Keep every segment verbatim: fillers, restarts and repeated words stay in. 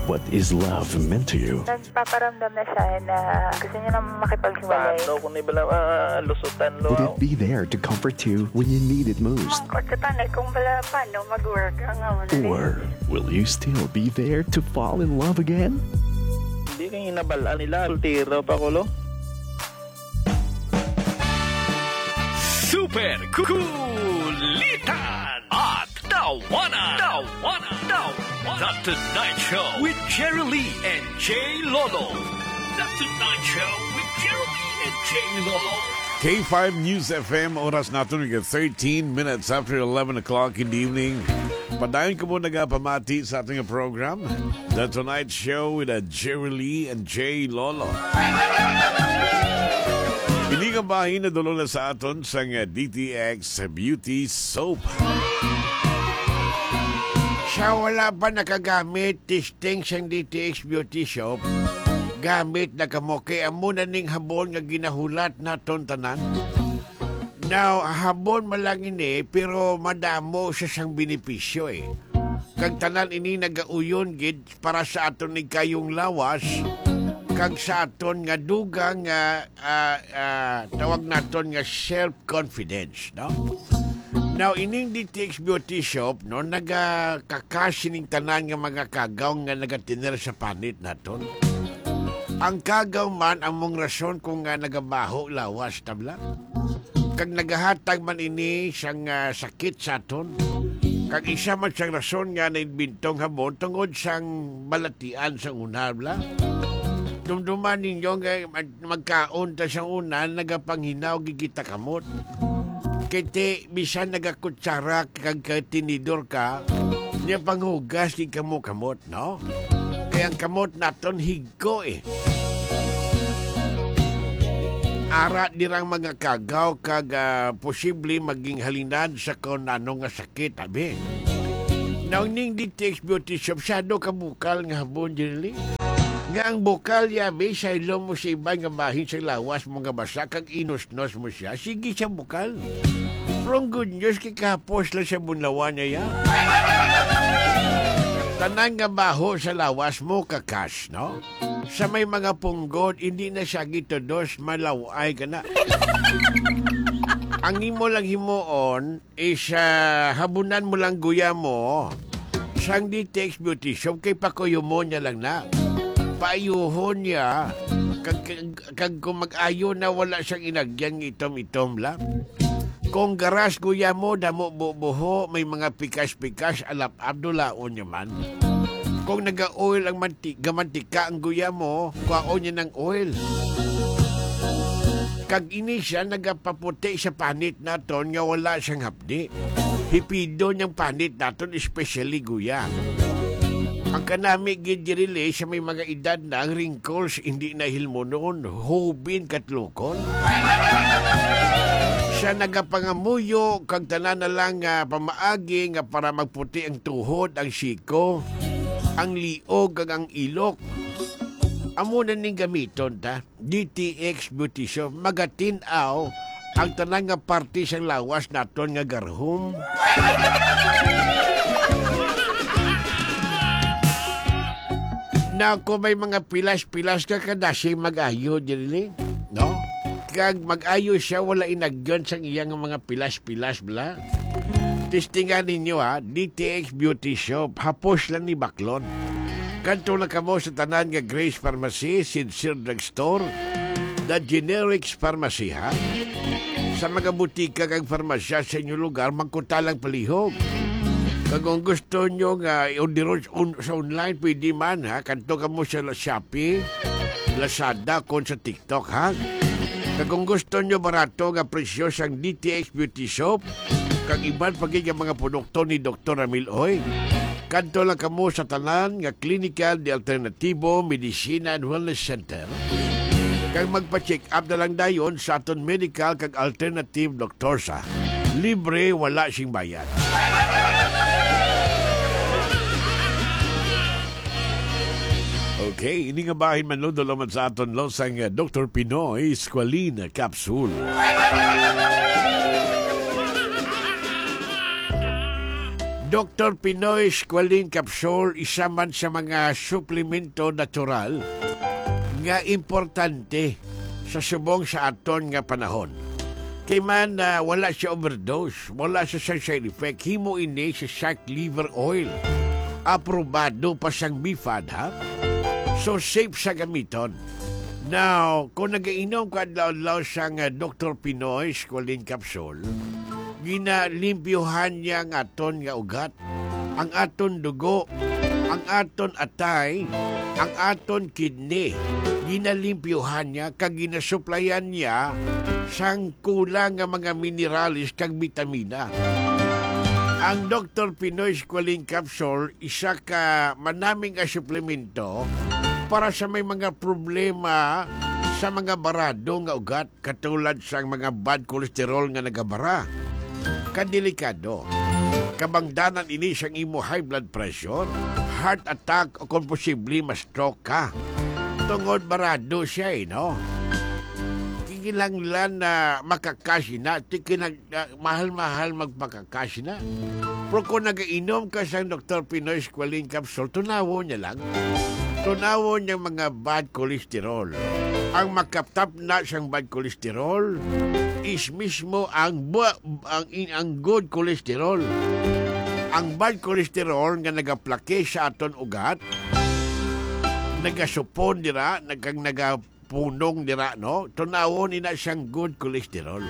What is love meant to you? Nagpaparamdam na siya na gusto niya na makipaghiwalay. Paano kung nibala, ah, lusutan lo Would it ako? Be there to comfort you when you need it most? Ang kutsutan ay kung bala, paano mag-work ang, ano, Or will you still be there to fall in love again? Hindi kay hinabal-an nila, soltero pa ko, lo. Super Kulitan at Tawanan. Tawanan. Tawanan. The Tonight Show with Jerry Lee and Jay Lolo. The Tonight Show with Jerry Lee and Jay Lolo. K five News F M, oras naton nga thirteen minutes after eleven o'clock in the evening. Padayon ko mo nagapamati sa ating program, The Tonight Show with, uh, Jerry Lee and Jay Lolo. Ini nga bahin nadulong na sa aton sang, uh, D T X Beauty Soap. Siya wala pa nakagamit testing sang D T X Beauty Soap. Gamit na kamo kay amo na ning habon nga ginahulat naton tanan. Now, habon man lang ini, pero madamo siya sang benepisyo, eh. Kag tanan ini nagauyon gid para sa aton ni kayong lawas, kag sa aton nga dugang nga, ah, ah, tawag naton nga self-confidence, no? Now, ining D T X Beauty Shop, no, nagakakas sining tanan nga mga kagaw nga nagatener sa panit naton. Ang kagaw man ang mong rason kung nga nagabaho lawas, tabla. Kag nagahatag man ini sang, ah, sakit sa aton. Kag isa man sang rason nga naimbentong habon tungod sang balatian sang una, bla. Dumduman ninyo nga mag-, magkaon ta sang una, nagapanghinaw gid kita kamot. Kay ti, bisan nagakutsara kag, kag tinidor ka, niya panghugas gid kamo kamot, no? Kay ang kamot naton hig-, ko, eh. Ara dirang mga kagaw kag, ah, posible maging halinan sa kon ano nga sakit, abi. Naon ning D T X Beauty Shop, sado ka bukal nga habon, Jerry? Nga ang bukal, yabi, saylo mo sa iban nga bahin sa lawas mo nga basa kag inusnos mo siya, sige sa bukal. Pero ang good news, kay kahapos lang sa bunlawan niya, ya. Tanan nga baho sa lawas mo, kakas, no? Sa may mga punggod, hindi na siya gitudos, malaw-ay ka na. Ang imo lang himuon is, ah, habunan mo lang guya mo sang D T X Beauty Shop kay pakuyumon niya lang na. Paayuhon niya. Kag, kag, kag kung mag-ayo na, wala siyang inagyan nga itom-itom lang. Kung garas guya mo, damo bubuho, may mga pikas-pikas, alap-ap, dulaon niya man. Kung naga-oil ang manti-, gamantika ang guya mo, kwaon niya ng oil. Kag ini siya nagapaputi sa panit naton nga wala siyang hapdi. Hipido niyang panit naton, especially guya. Ang kanami gid diri sa may mga edad na ang wrinkles hindi na hilmonon, hubin katlukon. Siya nagapangamuyo kag tanan na lang nga pamaagi nga para magputi ang tuhod, ang siko, ang liog, kag ang ilok. Amo na ning gamiton ta. D T X Beauty Shop, magatin-aw ang tanan nga parte sang lawas naton nga garhom. Na kung may mga pilas-pilas ka, kadasig mag-ayo diri, no? Kag mag-ayo siya, wala inagyon sang iya nga mga pilas-pilas, bla. Testingan ninyo, ha, D T X Beauty Shop, hapos lang ni baklon. Kadto lang kamo sa tanan nga Grace Pharmacy, Sincere Drugstore, The Generics Pharmacy, ha? Sa mga butika kag farmasya sa inyong lugar, magkuta lang palihog. Kag kung gusto nyo nga i-order on-, sa online, pwede man, ha? Kadto kamo sa La-, Shopee, Lazada, kon sa TikTok, ha? Kag kung gusto nyo barato nga presyo sang D T X Beauty Shop, kag iban pa gid nga mga produkto ni Doktor Ramil Oy, kadto lang kamo sa tanan nga Clinical de Alternativo Medicina and Wellness Center. Kag magpa-check up na lang dayon sa aton medical kag alternative doktor sa libre, wala sing bayad. Okay, ini nga bahin man, lo, dulong man sa aton, lo, sang, eh, Doktor Pinoy Squalene Capsule. Doktor Pinoy Squalene Capsule, isa man sa mga suplemento natural nga importante sa subong sa aton nga panahon. Kay man, ah, wala siya overdose, wala siya sa side effect. Himo ini sa shark liver oil. Aprobado pa sang BFAD, ha? So, safe sa gamiton. Now, kung nagainom ka adlaw-adlaw sang, ah, Doktor Pinoy Squalene Capsule, ginalimpyuhan niya ang aton nga ugat, ang aton dugo, ang aton atay, ang aton kidney. Ginalimpyuhan niya kag ginasuplayan niya sang kulang nga mga minerales kag bitamina. Ang Doktor Pinoy Squalene Capsule, isa ka manami nga suplemento para sa may mga problema sa mga barado nga ugat, katulad sang mga bad cholesterol nga nagabara. Kadelikado. Kabangdanan ini sang imo high blood pressure, heart attack, o kung posible, ma-stroke ka. Tungod barado siya, eh, no? Kinahanglan na makakash na, ti kinag-, ah, mahal-mahal magpakakash na. Pero kung nagainom ka sang Doktor Pinoy Squalene Capsule, tunawon niya lang. Tunawon niya mga bad cholesterol. Ang makatapna sang bad cholesterol is mismo ang bu-, ang, in-, ang good cholesterol. Ang bad cholesterol nga nagaplake sa aton ugat, nagasupon dira, nag-, kag naga-, punong dira, no? Tunawon ina siyang good cholesterol.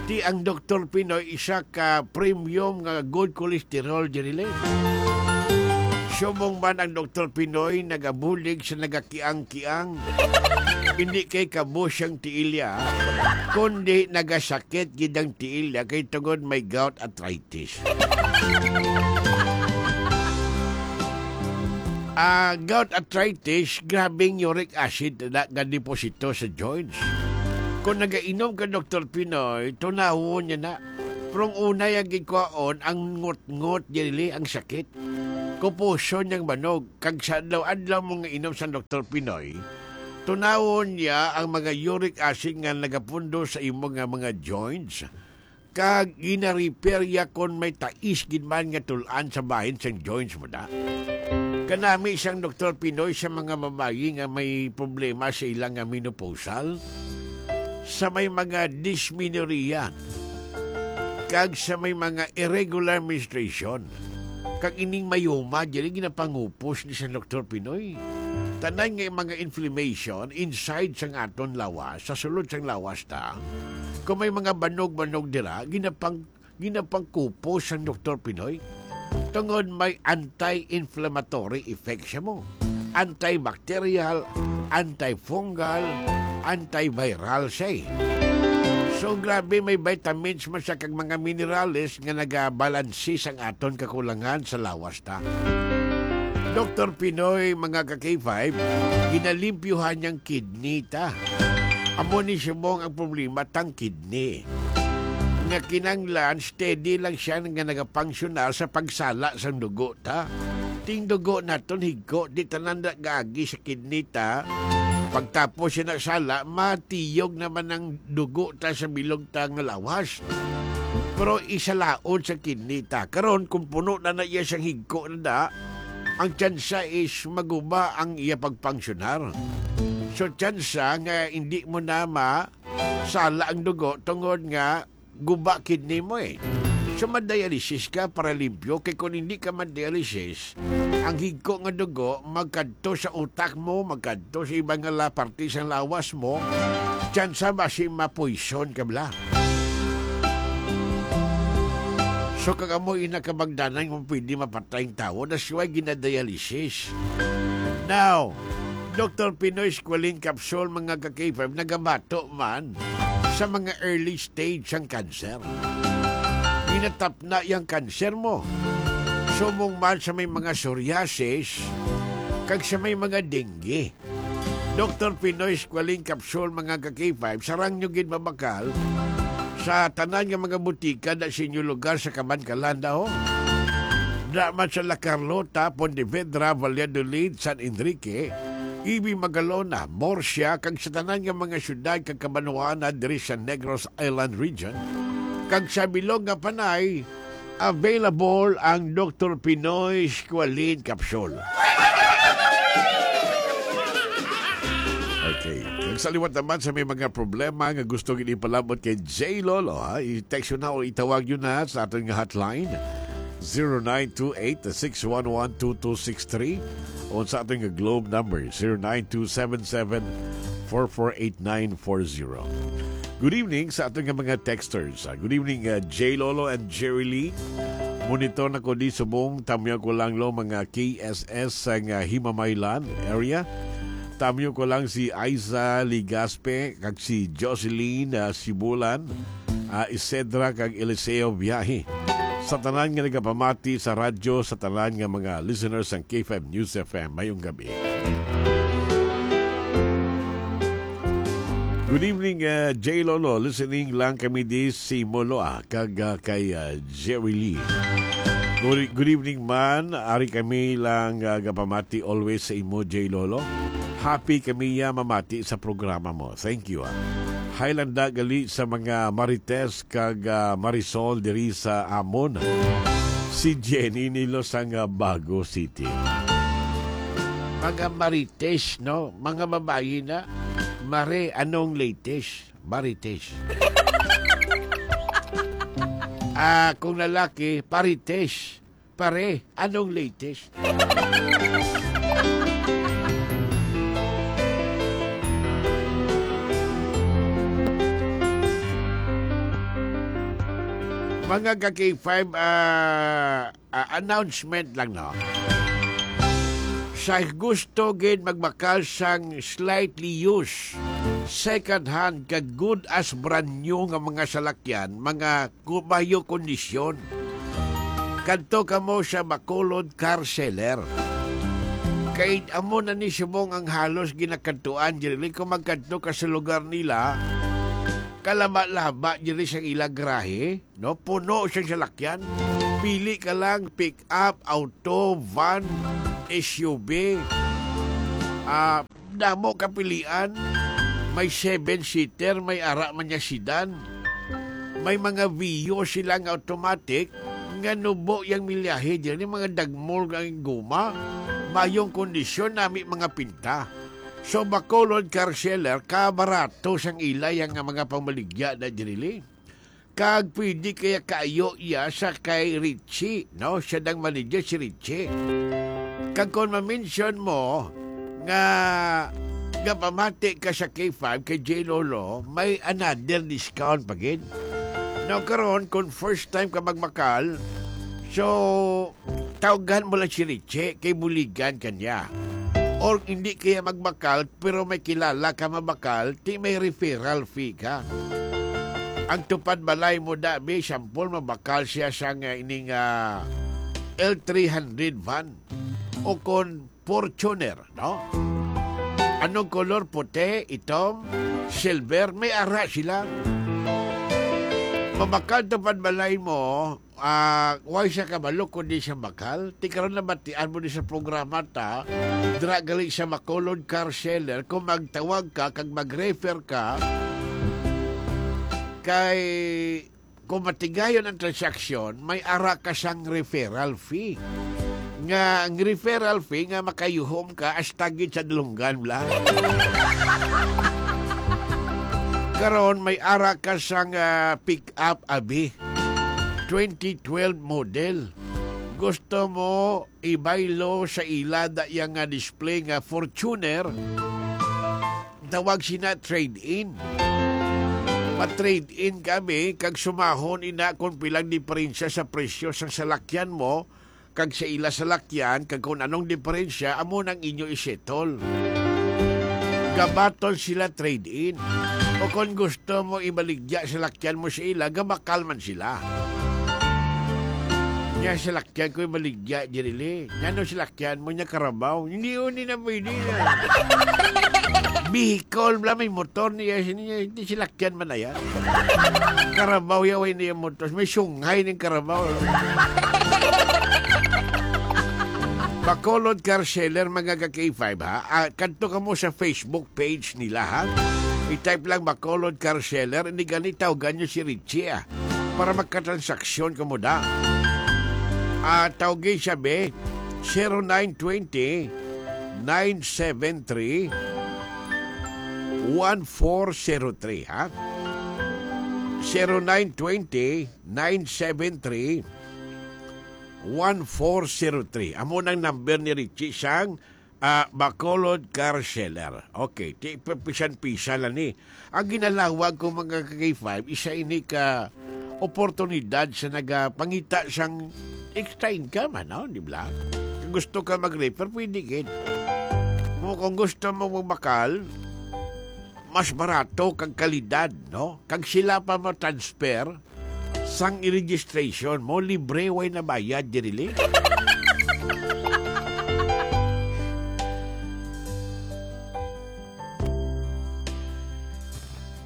Ti ang Doktor Pinoy, isa ka premium nga good cholesterol, Jerilyn. Subong man ang Doktor Pinoy nagabulig sa nagakiang-kiang, hindi kay kabo siyang tiilya, kundi nagasakit gid ang tiilya kay tungod may gout arthritis. Ah, gout arthritis, grabing uric acid na nga deposito sa joints. Kung nagainom ka, Doktor Pinoy, tunawon niya na. Pero ang una yang gikuhaon, ang ngot-ngot, dili ang sakit. Kupuson niyang banog, kag sa adlaw-adlaw mo nga inom sa Doktor Pinoy, tunawon niya ang mga uric acid nga nagapundo sa imo nga mga joints. Kag gina-repair ya kon may tais gid man nga tul-an sa bahin sang joints mo da. Kanami sang Doktor Pinoy sa mga babayi nga may problema sa ilang nga menopausal, sa may mga dysmenorrhea, kag sa may mga irregular menstruation. Kag ining mayoma, diri ginapangupos ni sang Doktor Pinoy. Tanan nga mga inflammation inside sang aton lawas, sa sulod sang lawas ta, kung may mga banog-banog dira, ginapang-, ginapangkupos sang Doktor Pinoy. Tungod may anti-inflammatory effect siya mo. Antibacterial, antifungal, antiviral siya eh. So, grabe, may vitamins man siya kag mga minerales nga nagabalansi sang aton kakulangan sa lawas ta. Doktor Pinoy, mga ka-K five, ginalimpyuhan niyang kidney ta. Amo ni subong ang problema tang kidney. Nga kinanglan, steady lang siya nga nagapangsyonar sa pagsala sang dugo ta. Ting dugo naton higko, di tanan na gaagi sa kidney ta. Pagtapos siya na sala, matiyog naman ang dugo ta sa bilog ta nga lawas. Pero isalaod sa kidney ta. Karon, kung puno na na iya sang higko na da, ang tsansa is maguba ang iya pagpangsyonar. So, tsansa nga hindi mo na masala ang dugo tungod nga guba kidney mo eh. So, ma-dialysis ka para limpyo, kay kung hindi ka ma-dialysis, ang higko nga dugo magkadto sa utak mo, magkadto sa iba nga la-, parte sa lawas mo, tsansa basi mapoison ka bala. So, kag amo ina kabangdanan kung pwede mapatay ang tawo, that's why ginadialysis. Now, Doktor Pinoy Squalene Capsule, mga ka-K five, nagabato man sa mga early stage sang cancer. Ginatapna yang cancer mo. Subong man sa may mga psoriasis, kag sa may mga dengue. Doktor Pinoy Squalene Capsule, mga ka-K five, sarang nyo gid mabakal sa tanan nga mga butika da sa inyo lugar sa Kabankalan, ho. Da man sa La Carlota, Pontevedra, Valladolid, San Enrique, Ibi, Magalona, Murcia, kag sa tanan nga mga syudad kag kabanwaan na diri sa Negros Island Region, kag sa bilog nga Panay, Available ang Doktor Pinoy Squalene Capsule. Okay. Kag sa liwat naman sa may mga problema nga gusto gid ipalabot kay J Lolo, ha? I-text yun na o itawag yun na sa aton nga hotline, zero nine two eight, six one one, two two six three, o sa aton nga Globe number, zero nine two seven seven, four four eight nine four zero. Good evening sa aton nga mga texters. Ah, good evening, ah, J Lolo and Jerry Lee. Monitor na ko di subong, tamyo ko lang lo mga K S S sa nga Himamaylan area. Tamyo ko lang si Aiza Ligaspe kag si Jocelyn, ah, Sibulan, ah, Isedra kag Eliseo Biyahe. Sa tanan nga nagapamati sa radyo, sa tanan nga mga listeners sang K five News F M, mayong gabi. Good evening, uh, J Lolo. Listening lang kami di si Moloa kag, uh, kay, uh, Jerry Lee. Good, good evening man. Ari kami lang, uh, gapamati always sa imo, J Lolo. Happy kami ya mamati sa programa mo. Thank you, ah. Hi lang da gali sa mga Marites kag, ah, Marisol diri sa amon. Si Jenny Nilo sang, ah, Bago City. Mga Marites, no? Mga babayi na. Mare, anong latest? Marites. Ah, kung lalaki, parites. Pare, anong latest? Mga ka K five, ah, ah, announcement lang, no? Sa gusto gid magbakal sang slightly used, second hand, kag good as brand new nga mga salakyan, mga ku-, mayo kondisyon. Kadto kamo sa Bacolod Car Seller. Kay amo na ni subong ang halos ginakadtuan diri. Kung magkadto ka sa lugar nila, kalaba-laba diri sa ila garahe, no? Puno siyang salakyan. Pili ka lang, pick up, auto, van, S U V. Ah, Damo kapilian. May seven-seater, may ara man niya sedan. May mga Vios sila nga automatic nga nubo yang milyahe diri, mga dagmol ang guma. Mayong kondisyon nami mga pinta. So, Bacolod Car Seller, kabarato sang ila yang mga pamaligya na diri. Kag pwede kaya kaayo iya sa kay Richie, no? Siya nang manager si Richie. Kag kon ma-mention mo nga gapamati ka sa K five kay J Lolo, may another discount pa gid. Now, karon, kung first time ka magbakal, so, tawgan mo lang si Richie kay buligan ka niya. Or hindi kaya magbakal, pero may kilala ka mabakal, ti may referral fee ka. Ang tupad balay mo, dabi, sampol, mabakal siya sa nga ining, ah, L three hundred van o kon Fortuner, no? Anong kolor? Puti, itom, silver, may ara sila. Mabakal tupad balay mo, ah, way siya kabalo kundi siya bakal. Ti karon nabatian mo ni sa programa ta, dira gali sa Bacolod Car Seller, kung magtawag ka kag mag-refer ka kay, kung matigayon ang transaksyon, may ara ka sang referral fee. Nga ang referral fee nga makayuhom ka hasta gid sa dalunggan lang. Karon may ara ka sang, ah, pick up, abi. Twenty twelve model. Gusto mo ibaylo sa ila da iya nga display nga Fortuner? Tawag sina trade-in. Ma-trade-in kami kag sumahon ina kung pilang diferensya sa presyo sang salakyan mo kag sa ila salakyan, kag kung anong diferensya, amo nang inyo i-settle. Gabaton sila trade-in. O kung gusto mo ibaligya salakyan mo sa ila, gabakal man sila. Nya salakyan ko ibaligya, Jirili. Ngano salakyan mo nya karabaw? Hindi, hindi na pwede na. Bicol, bla, may motor niya, hindi salakyan man na yan. Karabaw ya, way niya motor. May sungay ning karabaw. Bacolod Car Seller, mga ka K five, ha? Ah, kadto ka mo sa Facebook page nila, ha? I-type lang Bacolod Car Seller, hindi gani tawgan nyo si Richie, ah. Para magkatransaksyon ka mo da. Ah, tawgi siya, be. Zero nine twenty, nine seven three, one four zero three, ha? Zero nine twenty, nine seven three, one four zero three. Amo nang number ni Richie sang, ah, Bacolod Car Seller. Okay, ti, pisan-pisan lang ni. Ang ginalawag ko, mga ka-K five, isa ini ka oportunidad sa nagapangita sang extra income, ano, di ba? Kung gusto ka mag-refer, pwede gid. Mo, kung gusto mo magbakal, mas barato kag kalidad, no? Kag sila pa mo-transfer sang i-registration mo, libre, way na bayad, diri li.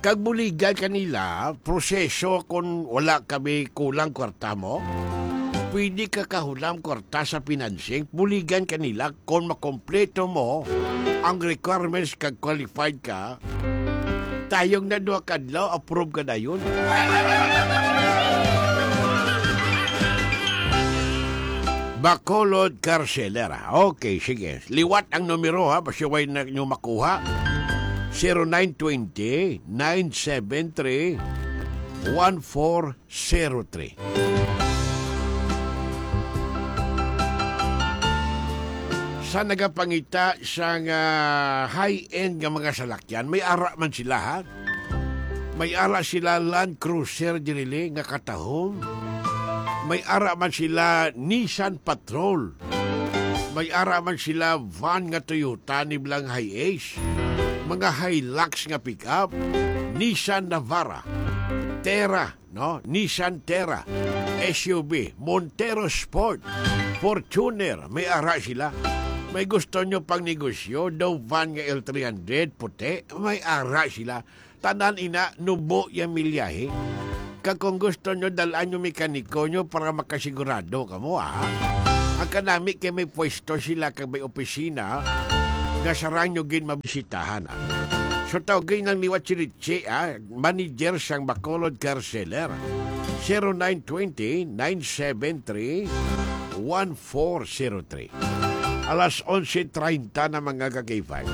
Kag buligan kanila, proseso, kung wala kami kulang kwarta mo, pwede ka kahulam kwarta sa financing, buligan kanila kung makompleto mo ang requirements kag qualified ka, tayong na duha ka adlaw, approve ka dayon. Bacolod Car Seller. Okay, sige. Liwat ang numero, ha, basi way na nyo makuha. Zero nine twenty, nine seven three, one four zero three. Sa nagapangita sang, ah, high-end nga mga salakyan, may ara man sila, ha? May ara sila Land Cruiser diri li nga katahom. May ara man sila Nissan Patrol. May ara man sila van nga Toyota ni blang Hiace. Mga Hilux nga pick-up, Nissan Navara, Terra, no? Nissan Terra, S U V, Montero Sport, Fortuner, may ara sila. May gusto nyo pang negosyo, daw van nga L three hundred, puti, may ara sila. Tanan ina, nubo yang milyahe. Kag kung gusto nyo, dal-an nyo mekaniko nyo para makasigurado kamo, ha? Ang kanami kay may pwesto sila kag may opisina nga sarang nyo gid mabisitahan, ha? So, tawgi nang liwat si Richie, ha? Manager sang Bacolod Car Seller. Zero nine twenty, nine seven three, one four zero three. Alas onse treinta na, mga ka-K five.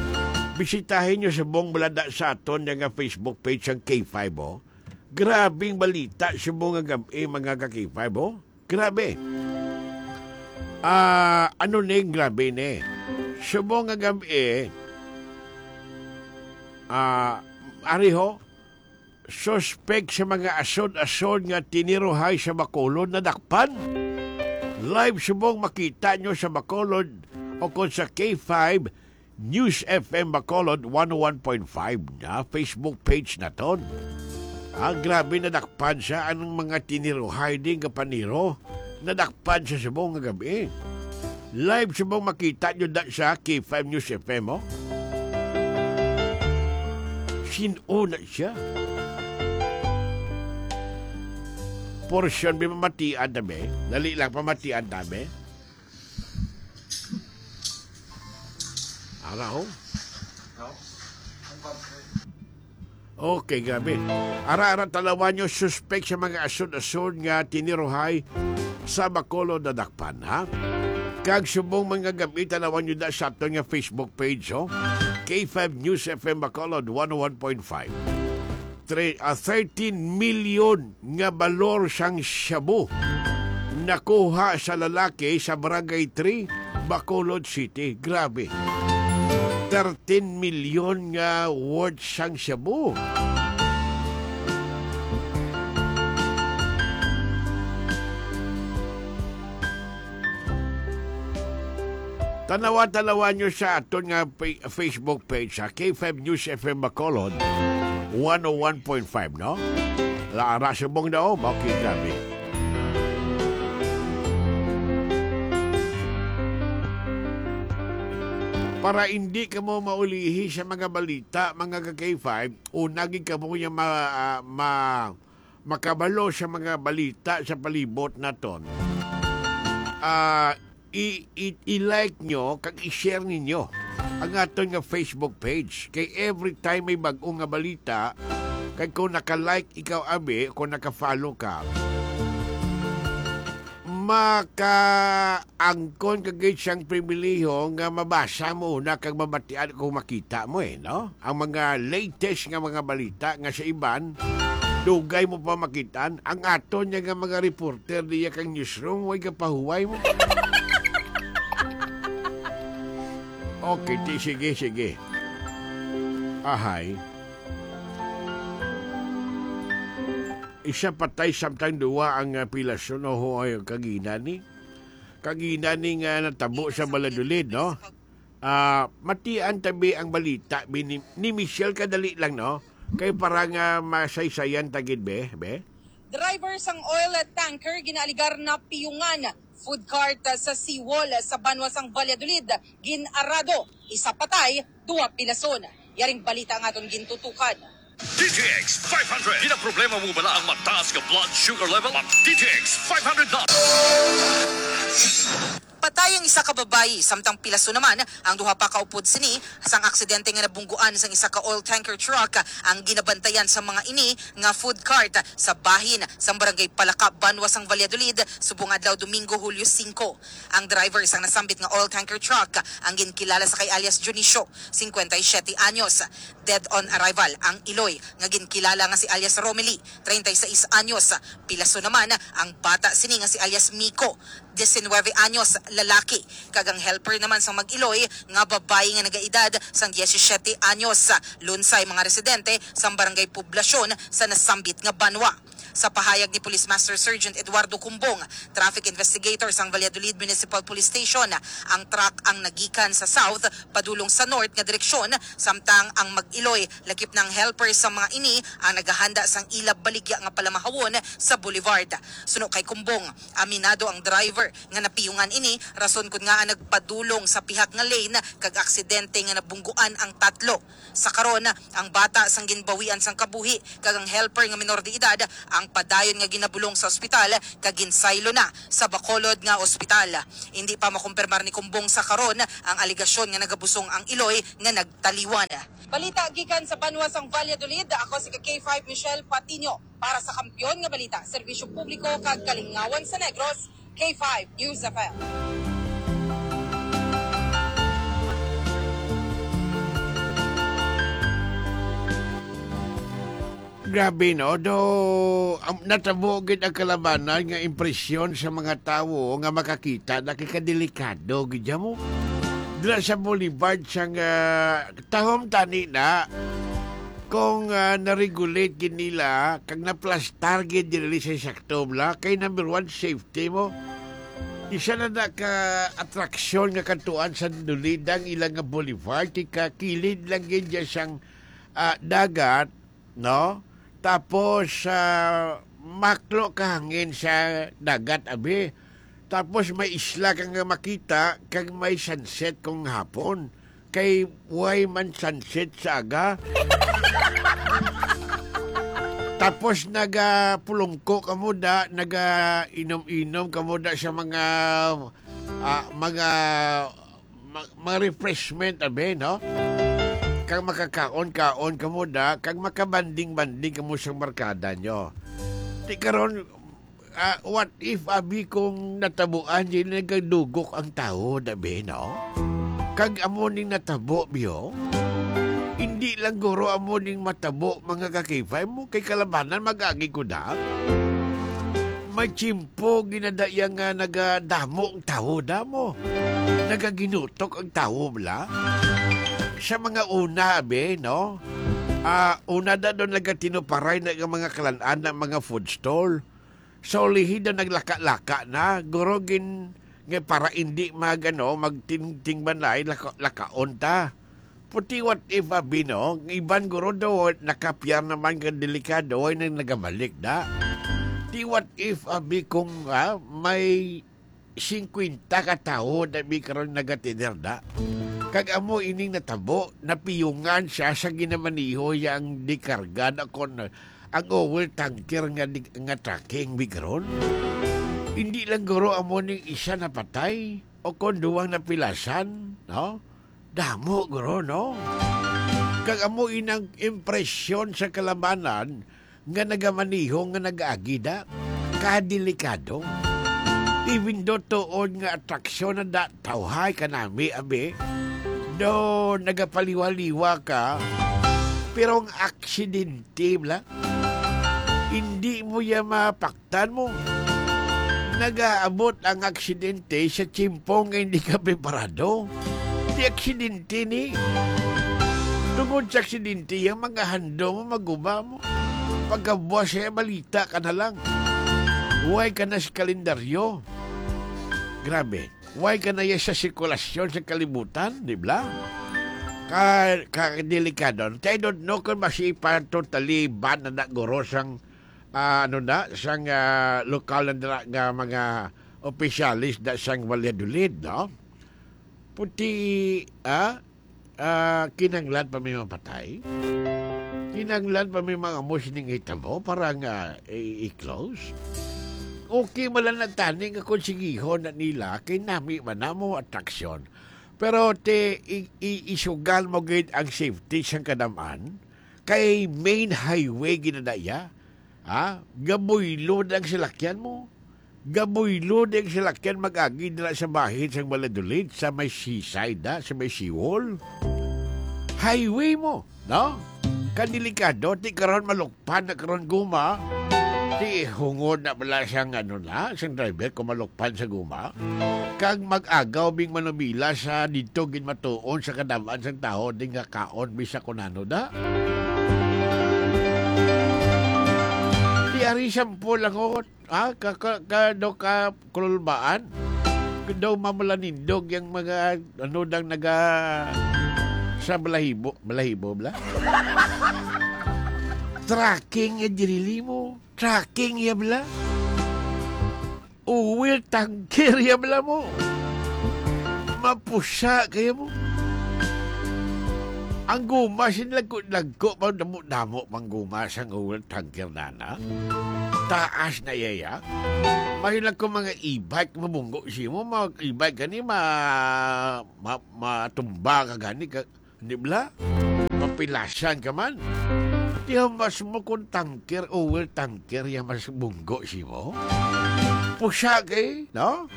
Bisitahin nyo subong balada sa aton nga Facebook page ang K five, oh. Grabing balita subong nga gab-i, mga ka-K five, oh. Grabe. Ah, ano ning grabe ni? Subong nga gab-i, ah, ari ho, suspek sa mga asod-asod nga tiniruhay sa Bacolod nadakpan. Live subong makita nyo sa Bacolod o kon sa K five News F M Bacolod one oh one point five nga Facebook page naton. Ah, grabe, nadakpan sa anong mga tiniruhay din nga paniro. Nadakpan sa subong nga gab-i. Live subong makita nyo da sa K five News F M, oh. Sin-o na siya? Porsyon, bi, mamatian ta, bi. Dali lang, pamatian ta, bi. Ara, oh. Okay, grabe. Ara-ara, talawan nyo, suspek sa mga asod-asod nga tiniruhay sa Bacolod nadakpan, ha? Kag subong mga gab-i, talawan nyo da sa aton nga Facebook page, oh. K five News F M Bacolod, one oh one point five. Tre-, ah, thirteen million nga balor sang shabu nakuha sa lalaki sa Barangay three, Bacolod City. Grabe. Thirteen million nga worth sang shabu. Tanawa-tanawa nyo sa aton nga pa-, Facebook page, sa K five News F M Bacolod, one oh one point five, no? Lara subong daw, bakit grabe. Para hindi kamo maulihi sa mga balita, mga ka-K five, una gid kamo nga ma-, ah, ma-, makabalo sa mga balita sa palibot naton. Ah, i-, i-, i-like nyo kag i-share ninyo ang aton nga Facebook page. Kay every time may bag-o nga balita, kag kung naka-like ikaw, abi, kung naka-follow ka, Makaangkon ka gid siyang pribilehiyo nga mabasa mo una kag mabatian kung makita mo, eh, no? Ang mga latest nga mga balita nga sa iban, dugay mo pa makitaan. Ang aton niya nga mga reporter diya kang newsroom, way gapahuway mo. Okay, ti-, sige, sige. Ahay. Isa patay samtang duwa ang, ah, pilason, o, ay, kagina ni. Kagina ni nga natabo sa Valladolid, no? Ah, matian tabi ang balita, bi ni, ni Michelle, kadali lang, no? Kay para nga masaysayan ta gid, be, be? Driver sang oil tanker ginaaligar na piyungan. Food cart, ah, sa seawall, ah, sa banwa sang Valladolid, gin-arado. Isa patay, duwa pilason. Yaring balita ang aton gintutukan. D T X five hundred. Ginaproblema mo bala ang mataas nga blood sugar level? Mag D T X five hundred na. Patay ang isa ka babayi, samtang pilason naman ang duha pa kaupod sini sang aksidente nga nabungguan sang isa ka oil tanker truck. Ang ginabantayan sa mga ini nga food cart sa bahin sang Barangay Palaka, banwa sang Valladolid, subong adlaw Domingo, Hulyo singko. Ang driver sang nasambit nga oil tanker truck ang ginkilala sa kay alias Dionisio, singkwenta y siyete anyos. Dead on arrival ang iloy nga ginkilala nga si alias Romely, treinta y seis anyos. Pilason naman ang bata sini nga si alias Miko, diecinueve anyos, lalaki, kag ang helper naman sang mag-iloy nga babayi nga nagaedad sang diecisiete anyos. Lunsay mga residente sang Barangay Poblacion sa nasambit nga banwa. Sa pahayag ni Police Master Sergeant Eduardo Cumbong, traffic investigator sang Valladolid Municipal Police Station, ang truck ang nagikan sa south padulong sa north nga direksyon, samtang ang mag-iloy, lakip na ang helper sa mga ini, ang nagahanda sang ila baligya nga palamahawon sa boulevard. Suno kay Cumbong, aminado ang driver nga napiyungan ini, rason kun ngaa nagpadulong sa pihak nga lane kag aksidente nga nabungguan ang tatlo. Sa karon, ang bata sang ginbawian sang kabuhi kag ang helper nga minor de edad ang padayon nga ginabulong sa ospital kag ginsaylo na sa Bacolod nga ospital. Indi pa makumpirmar ni Cumbong sa karon ang alegasyon nga nagabusong ang iloy nga nagtaliwan. Balita gikan sa banwa sang Valladolid, ako si ka K five Michelle Patiño. Para sa Kampiyon nga Balita, Serbisyo Publiko kag Kalingawan sa Negros, K five News F M. Grabe, no? Do, am, natabo gid ang kalabanan nga impresyon sa mga tawo nga makakita na kay kadelikado gid mo. Dira sa Boulevard sang, ah, tahom tani na kung, ah, na-regulate gid nila kag naplastar gid diri sa sakto bala, kay number one, safety mo. Isa na na ka atraksyon nga katuan sa Dulidang ilang nga boulevard, kay kakilid lang gid dyan sang, ah, dagat, no? Tapos, ah, maklo ka hangin sa dagat, abi. Tapos may isla ka nga makita, kag may sunset kung hapon. Kay way man sunset sa aga. Tapos nagapulungko ka mo da, nagainom-inom ka mo da sa mga, ah, mga, ma-, mga refreshment, abi, no? Kag makakaon-kaon ka mo da, kag makabanding-banding ka mo sa barkada nyo. Di karon, ah, what if, abi, kung natabuan, di nagadugok ang tawo, abi, no? Kag amo ning natabo, biyo? Hindi lang guro amo ning matabo, mga kakipay mo, kay kalabanan mag-agi ko da. May tiyempo ginadaya nga nagadamo ang tawo, damo. Nagaginutok ang tawo, bala. Sa mga una, abi, no? Ah, una da doon nagatinuparay na nga mga kalan-an na mga food stall. Sa ulihi daw naglaka-laka na, guro gin-, nga para indi mag, ano, magtingtingbanlay, laka-, lakaon ta. Puti what if, abi, no? Ang iban guro daw, nakapyar naman nga delikado, ay nang nagabalik da. Ti what if, abi, kung, ah, may singkwenta ka tawo, abi, karon nagatiner da. Kag amo ining natabo, napiyungan siya sa ginamaniho yang dikarga na kon ang oil tanker nga di-, nga trucking bigron. Hindi lang guro amo ning isa napatay o kon duwang napilasan, no? Damo guro, no? Kag amo inang impresyon sa kalabanan nga nagamaniho nga nag-agi da. Kadelikado. Even though tuod nga atraksyon na da, tawhay ka nami, abi. Though nagapaliwa-liwa ka, pero ang aksidente, bla, hindi mo ya mapaktan mo. Nagaabot ang aksidente sa tiyempo nga hindi ka preparado. Di aksidente ni. Tungod sa aksidente, ang mga handom mo, maguma mo. Pagkabuas siya, balita ka na lang. Way ka na sa kalendaryo. Grabe. Way ka na ya sa sirkulasyon sa kalibutan, di ba? Ka, ka delikado. I don't know kung masipa totally ban na, na guro sang, ah, ano na, sang, ah, lokal na, na nga mga opisyalis na sang Valladolid, no? Puti, ah, ah, kinahanglan pa may mapatay? Kinahanglan pa may mga amo sining hitabo para nga i-, i-close? Okay man lang na tani nga konsehihon na nila, kay nami man namo atraksyon. Pero ti, i-, i-, isugal mo gid ang safety sang kadam-an, kay main highway gid na iya. Ha? Gabuylod ang salakyan mo. Gabuylod ang salakyan mag-agi dira sa bahin sang Valladolid, sa may seaside, ha? Sa may seawall. Highway mo, no? Kadelikado, ti karon malukpan na karon guma. Ti hungod na bala sang ano na, sang driver kung malukpan sa guma. Kag mag-agaw bing manubila sa didto gid matuon sa kadam-an sang tawo, di nga kaon, bisa kunano da. Di ari sample lang, oh. Ah, ka, ka, ka, daw ka kululbaan. Daw mamalanindog yang mga, ano, dang naga sa balahibo, balahibo, bala? Tracking ya diri mo. Tracking ya, bala? Oil tanker ya, bala mo. Mapusa kaya mo. Ang guma, sinlagko-lagko, pa damo-damo pang guma sang oil tanker na na. Taas na iya, ya. Mahilang ko mga e-bike, mabunggo siya mo, mga e-bike gani, ma-, ma-, matumba ka gani, ka, di bala? Mapilasan ka man. Di mas mo kung tanker, oil tanker, ya mas bunggo siya mo. Pusa kay, no?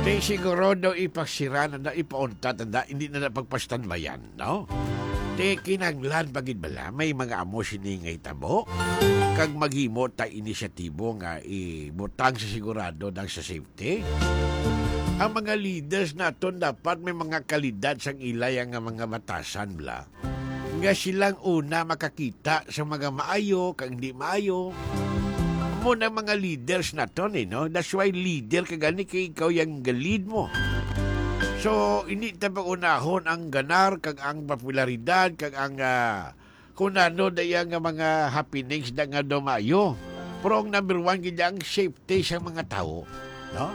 Di siguro daw ipasira na, na ipauntat na, hindi na na pagpastanbayan. No? Ti kinahanglan pa gid bala may mga amo sini nga hitabo, kag maghimo ta inisyatibo nga ibutang sa sigurado dang sa safety? Ang mga leaders naton dapat may mga kalidad sang ilaya nga mga batasan bala, nga silang una makakita sa mga maayo kag hindi maayo. Amo na mga leaders naton, eh, no? That's why leader ka gani, kay ikaw yang ga-lead mo. So, hindi ta pag-unahon ang ganar kag ang popularidad kag ang, ah, kung ano daya nga mga happenings na nga dumayo. Pero ang number one gid ang safety sa mga tawo, no?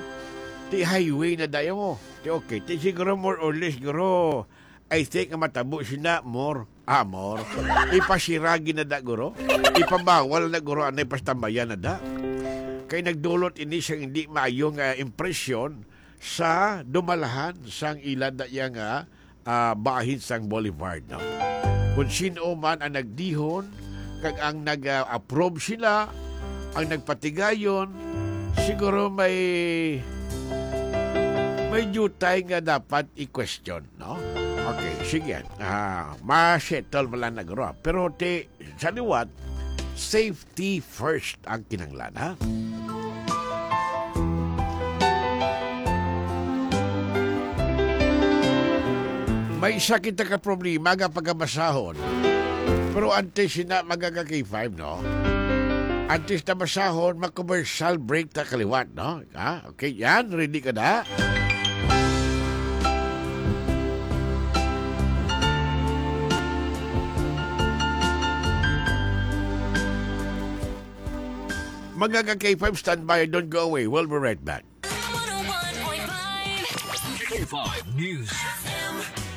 Ti highway na dayo mo. Ti okay, ti siguro more or less, siguro, I think nga matabo sina more. Ah, more. Ipasiragi na da, guro. Ipabawal na, guro, anay pastambayan na da. Kay nagdulot ini sang hindi maayo nga impresyon sa dumalahan sang ila da iya nga, ah, bahin sang Boulevard, no? Kung sino man ang nagdihon, kag ang nag-approve sila, ang nagpatigayon, siguro may, may dutay nga dapat i-question, no? Okay, sige. Ah, ma-settle mo lang na, guro. Pero ti, sa liwat, safety first ang kinahanglan, ha? May isa kita ka problema nga pagabasahon. Pero antes sina, mga ka-K five, no? Antes ta basahon, ma-commercial break ta kaliwat, no? Ha? Okay, yan. Ready ka na? Mga ka-K five, stand by. Don't go away. We'll be right back. One oh one point five. K five News.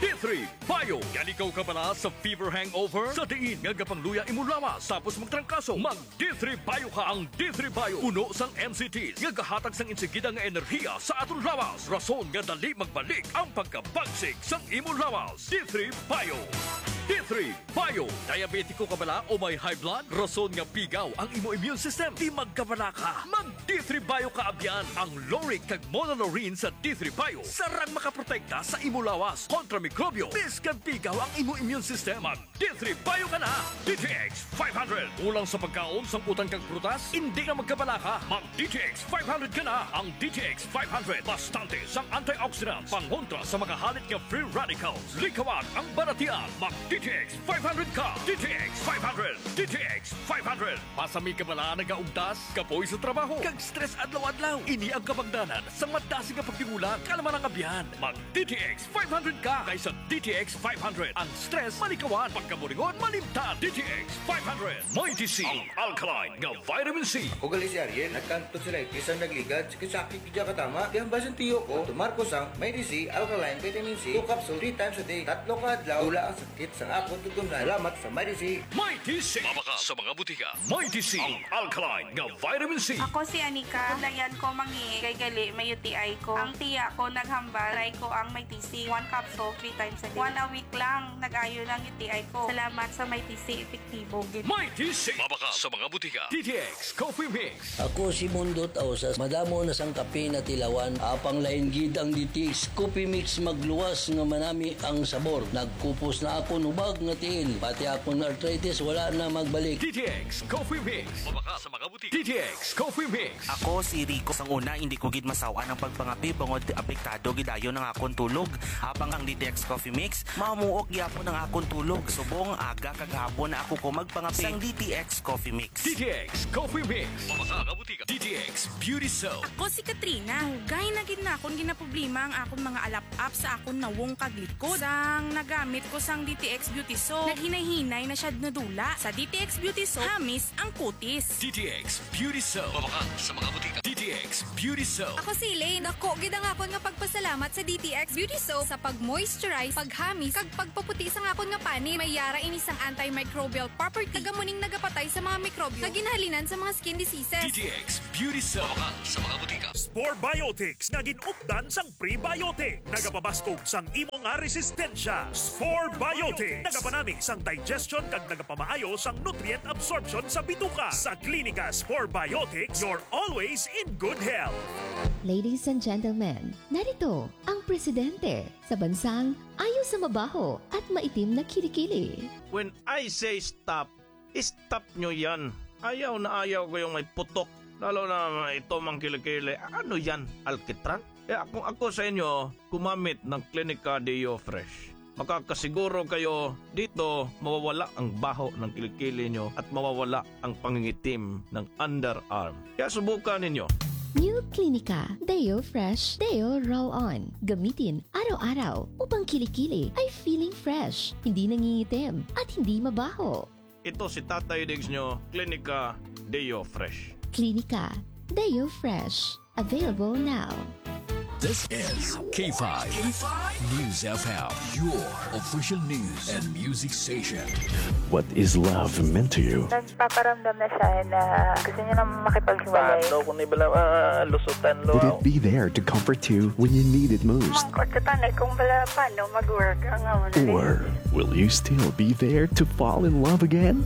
D three Bio. Yan ikaw kabala sa fever hangover? Sa diin nga gapangluya imong lawas, tapos magtrangkaso, mag D three Bio ka. Ang D three Bio puno sang M C Ts nga gahatag sang insigida nga enerhiya sa aton lawas, rason nga dali magbalik ang pagkabagsik sang imong lawas. D three Bio. D three Bio. Diabetiko ka bala o may high blood? Rason nga pigaw ang imo immune system. Di magkabala ka. Mag D three Bio ka abyan. Ang lauric kag monolaurin sa D three Bio sarang makaprotekta sa imo lawas kontra mikrobyo. Bisan pigaw ang imo immune system, mag D three Bio ka na. D T X five hundred. Kulang sa pagkaon, sangkutan kag prutas, indi na magkabala ka. Mag D T X five hundred ka na. Ang D T X five hundred, bastante sang antioxidants, pangontra sa mga halit nga free radicals. Likawan ang baratian. Mag D T X five hundred ka. D T X five hundred. D T X five hundred. Masami ka bala nagaugtas, kapoy sa trabaho, kag stress adlaw-adlaw? Ini ang kabangdanan sa madasig nga pagtingula, kalma ng abyan. Mag D T X five hundred ka kaysa D T X five hundred. Ang stress malikawan, pagkaburingon malimtan. D T X five hundred. Mighty C, ang alkaline nga vitamin C. Ako gali si Ariel, nagkanto sila itis ang nagligad, sakit-sakit gid katama. Di ang basin tiyo ko, tumar ko sang Mighty C, alkaline vitamin C, two capsule, three times a day, tatlo ka adlaw, wala ang sakit sa akon tutunlan. Salamat sa Mighty C. Mighty C. Mabakal sa mga butika. Mighty C, ang alkaline nga vitamin C. Ako si Anika. Dayan ko mangi kay gali may U T I ko. Ang tiya ko naghambal, try ko ang Mighty C. One capsule, three times a day. One a week lang, nag-ayo na ang U T I ko. Salamat sa Mighty C, epektibo gid. Mighty C. Mabakal sa mga butika. D T X Coffee Mix. Ako si Mundo Tausas. Madamo na sang kape na tilawan. Apang lain gid ang D T X Coffee Mix, magluwas nga manami ang sabor. Nagkupos na akon hubag nga tiil. Pati akon arthritis wala na magbalik. D T X Coffee Mix. Mabakal sa mga butika. D T X Coffee Mix. Ako si Rico. Sang una, hindi ko gid masaw-an ang pagpangapi bangod apektado gid dayon ang akon tulog. Apang ang D T X Coffee Mix, mamuok gyapon ang akon tulog. Subong aga kag hapon na ako ko magpangapi sang D T X Coffee Mix. D T X Coffee Mix. Mabakal sa mga butika. D T X Beauty Soap. Ako si Katrina. Dugay na gid na akon ginaproblema ang akon mga alap-ap sa akon nawong kag likod. Sang nagamit ko sang D T X Beauty Soap, naghinay-hinay na siya nadula. Sa D T X Beauty Soap, hamis ang kutis. D T X Beauty Soap. Mabakal sa mga butika. D T X Beauty Soap. Ako si Elaine. Dako gid ang akon nga pagpasalamat sa D T X Beauty Soap sa pag-moisturize, paghamis, kag pagpaputi sang akon nga panit. May yara ini sang antimicrobial property, kag amo ning nagapatay sa mga mikrobyo nga ginahalinan sa mga skin diseases. D T X Beauty Soap. Mabakal sa mga butika. Spore Biotics nga gin-updan sang prebiotic. Nagapabaskog sang imo nga resistensya. Spore Biotics. Nagapanami sang digestion kag nagapamaayo sang nutrient absorption sa bituka. Sa Klinika Spore Biotics, you're always in good health. Ladies and gentlemen, narito ang presidente sa bansang ayo sa mabaho at maitim na kilikili. When I say stop, stop nyo yan. Ayaw na ayaw ko yung may putok. Lalo na ito mang kilikili. Ano yan? Alkitran? Kaya kung ako sa inyo, gumamit ng Klinika Deo Fresh. Makakasiguro kayo dito mawawala ang baho ng kilikili nyo at mawawala ang pangingitim ng underarm. Kaya subukan ninyo. New Klinika Deo Fresh Deo Roll On. Gamitin araw-araw upang kilikili ay feeling fresh, hindi nangingitim, at hindi mabaho. Ito si Tatay Diggs nyo, Klinika Deo Fresh. Klinika Deo Fresh. Available now. This is K five News F M, your official news and music station. What is love meant to you? Nagpaparamdam na siya na gusto niya na makipaghiwalay. Paano kung ibala, ah, lusutan, lo? Would it be there to comfort you when you need it most? Mangkot ka tanay kung bala paano mag-work ang amo na. Or will you still be there to fall in love again?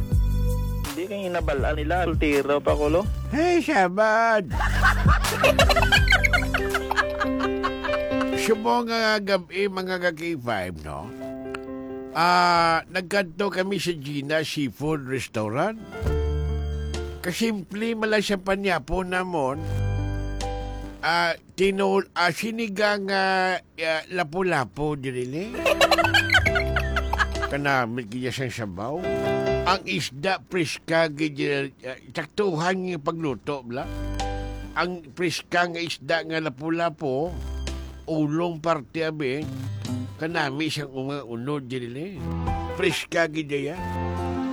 Hindi kay hinabal-an nila, soltero pa ko, lo. Hey, Shabad! Subong nga gab-i, mga ka-K five, no? Ah, nagkadto kami sa Gina Seafood Restaurant. Kasimple man lang sa panyapo namon. Ah, tinul-, ah, sinigang, ah, ah, lapu-lapu diri ni. Kanamit gid sang sabaw. Ang isda, preska gid, ah, saktuhan nga pagluto, bala. Ang preska nga isda nga lapu-lapu, ulong parte, abi, kanami sang mga unod diri ni. Preska gid iya.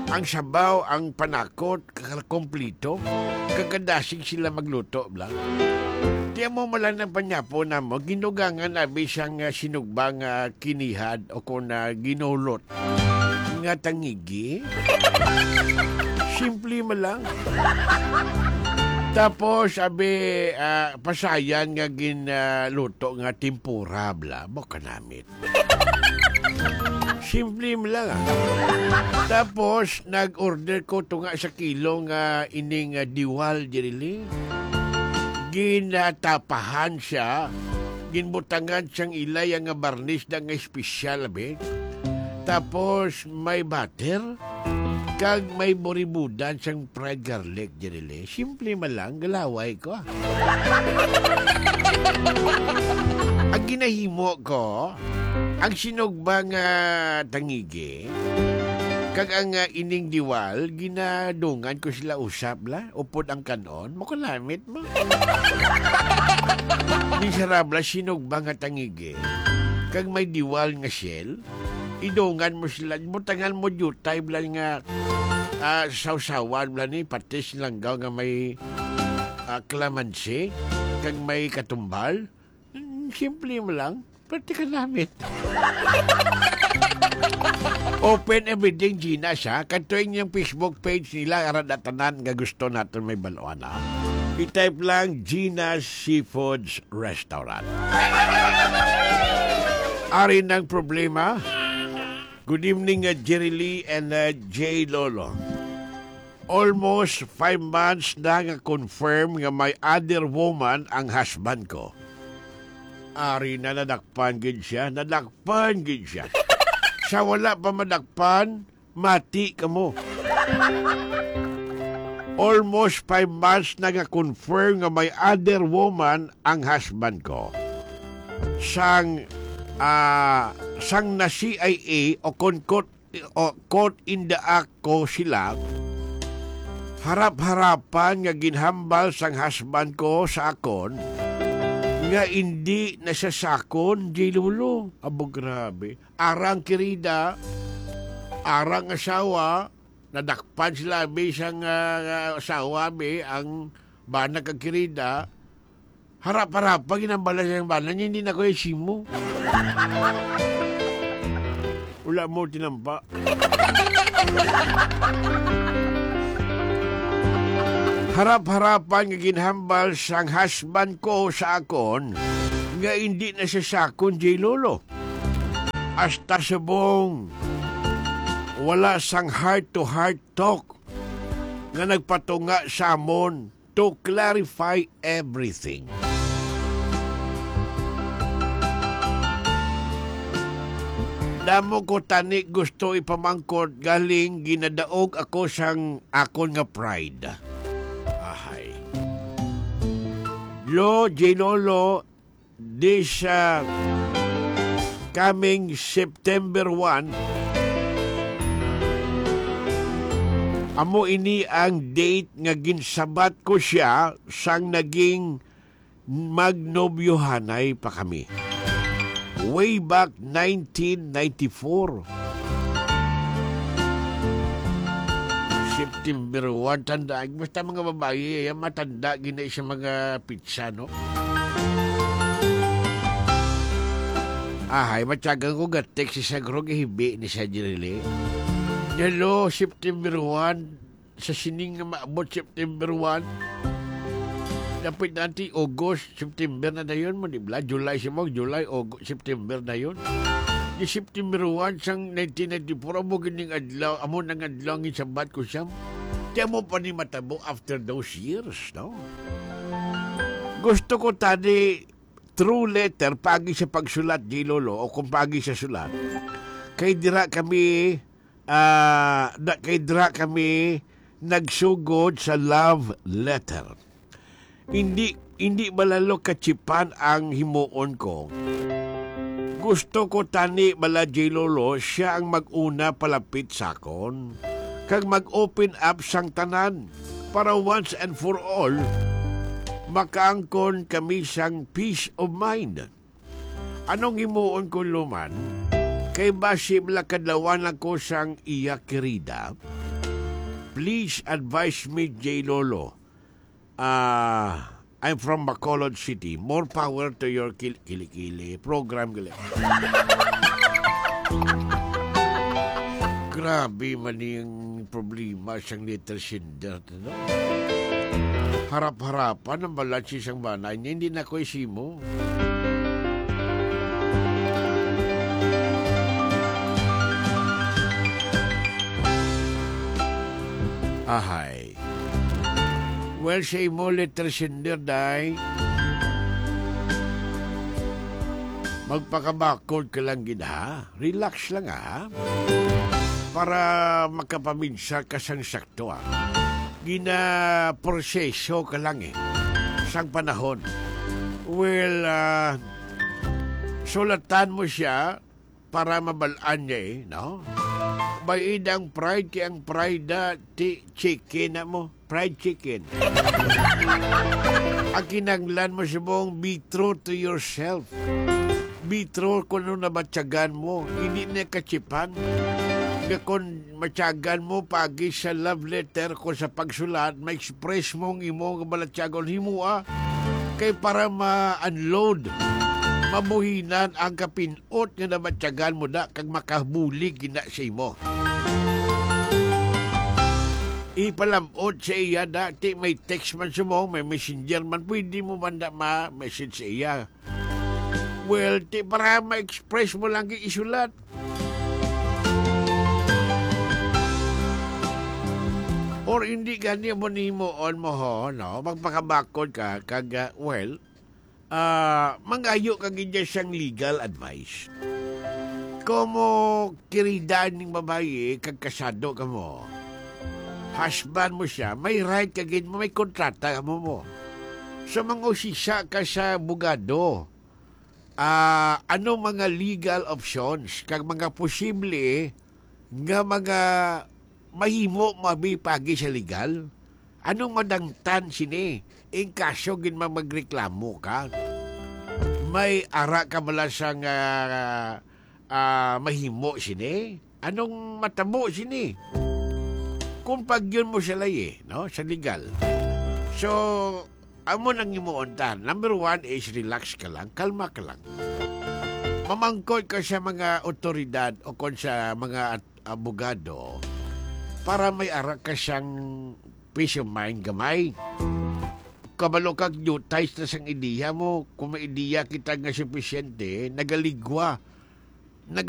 Ang sabaw, ang panakot, ka-, kompleto. Kag kadasig sila magluto, bala. Ti amo man lang ang panyapo namo, ginugangan abi sang, ah, sinugba nga kinihad o kon, ah, ginulot nga tangigi. Simple man lang. Tapos, abi, ah, pasayan nga gin, ah, luto nga tempura, bala. Mo kanamit. Simple mo lang, ah. Tapos, nag-order ko tunga sa kilo nga ining, ah, Diwal, Jerilee. Ginatapahan siya, ginbutangan siyang ilaya nga barnis da nga espesyal, abi. Tapos, may butter, kag may buribudan sang fried garlic, Jerilee. Simple man lang, galaway ko, ah. Ang ginahimo ko, ang sinugba nga tangigi, kag ang, ah, ining Diwal, ginadungan ko sila usab la, upod ang kan-on, makulamit mo. Di sarabla, sinugba nga tangigi, kag may Diwal nga shell, idungan mo sila, butangan mo diutay bala nga, ah, sawsawan bala ni patis, langgaw nga may, ah, kalamansi, kag may katumbal. Mm, simple mo lang, pero di ka namit. Open everything, Gina, siya. Kadto inyong Facebook page nila, ara na tanan nga gusto naton may bal-oan, ha. I-type lang Gina's Seafoods Restaurant. Ari nang problema. Good evening, uh, Jerilee and, uh, J Lolo. Almost five months na nga confirm nga may other woman ang husband ko. Ari na, nadakpan gid siya, nadakpan gid siya. Sa wala pa madakpan, mati kamo. Almost five months na nga confirm nga may other woman ang husband ko. Sang, ah, sang na C I A o kon caught, o caught in the act ko sila, harap-harapan nga ginhambal sang husband ko sa akon nga indi na siya sakon, J Lolo. Abo, grabe. Arang kirida, arang asawa, nadakpan sila, abi, sang, ah, asawa, abi, ang bana kag kirida, harap-harap pa, ginambala siya ang bana niya, "Hindi na ko yung simo." Wala mo tinampa. Harap-harapan nga ginhambal sang husband ko sa akon nga hindi na siya sakon, J Lolo. Hasta subong, wala sang heart-to-heart talk nga nagpatunga sa amon to clarify everything. Damo ko tani gusto ipamangkot, galing ginadaog ako sang akon nga pride. Ahay. Lo, J Lolo, this, uh, coming September one, amo ini ang date nga ginsabat ko siya sang naging magnobyohanay pa kami. Way back nineteen ninety-four. September one, tanda, basta mga babayi, yan, matanda gina sa mga pitsa, no? Ahay, matyagan ko ga-text sa gro, gahibi ni sa Jirili. Hello, September one, sa sining nga maabot September one. Dapit na ti August, September na dayon mo, di ba? July, si mo, July, August, September na yun. Di September one sang nineteen ninety-four, amo gining adlaw, amo nang adlaw ang isabat ko siya. Di amo pa ni matabo after those years, no? Gusto ko tani true letter, pagi sa pagsulat, di Lolo, o kung pagi sa sulat. Kay dira kami, ah, da-, kay dira kami nagsugod sa love letter. Hindi, hindi ba lalo kachipan ang himuon ko? Gusto ko tani bala, J Lolo, siya ang mag-una palapit sa akon, kag mag-open up sang tanan, para once and for all, makaangkon kami sang peace of mind. Anong himuon ko, Luman? Kay basi bala kadlawan ako sang iya kirida. Please advise me, J Lolo. Ah, I'm from Bacolod City. More power to your kil-, kilikili program, gali. Grabe man yung problema sang letter sender, no? Harap-harapan ang balat sa isang bana niya, hindi na ko isimo. Ay. Well, sa imo, letter sender, day, magpakabakod ka lang gid, ha? Relax lang, ha? Para makapaminsar ka sang sakto, ha? Ginaproseso ka lang, eh, sang panahon. Well, ah, sulatan mo siya para mabal-an niya, eh, no? May idang pride kay ang pride, ah, ti-, chicken na mo. Fried chicken. Ang kinahanglan mo subong, be true to yourself. Be true kung ano nabatyagan mo. Hindi na kachipan. Nga kung matyagan mo, pagi sa love letter ko sa pagsulat, ma-express mo ang imo nga balatyagon, himoa. Kay para ma-unload, mabuhinan ang kapin-, ot nga nabatyagan mo na kag makabulig gina sa imo. Ipalam-ot sa iya na, ti may text man sa mo, may messenger man, pwede mo man na ma-message sa iya. Well, ti para ma-express mo lang yung isulat. Or hindi gani mo ni himuon mo ho, no? Magpakabakod ka, kag, ah, well, ah, mangayo ka gid sang legal advice. Komo kirida ning babayi kag kasado ka mo, husband mo siya, may right ka gid mo, may kontrata ka mo mo. So, mangusisa ka sa abogado, ah, ano mga legal options kag mga posible nga mga mahimo mabipagi sa legal? Anong madangtan sini? In kaso gid ma-, magreklamo ka, may ara ka bala sang, ah, ah, mahimo sini? Anong matabo sini? Kung pagyon mo sa layi, no, sa legal. So, amo nang himuon ta. Number one is relax ka lang, kalma ka lang. Mamangkot ka sa mga otoridad o kon sa mga at-, abogado para may ara ka sang peace of mind gamay. Kabalo kag dutay na sang ideya mo. Kung may ideya kita nga sufisyente, nagaligwa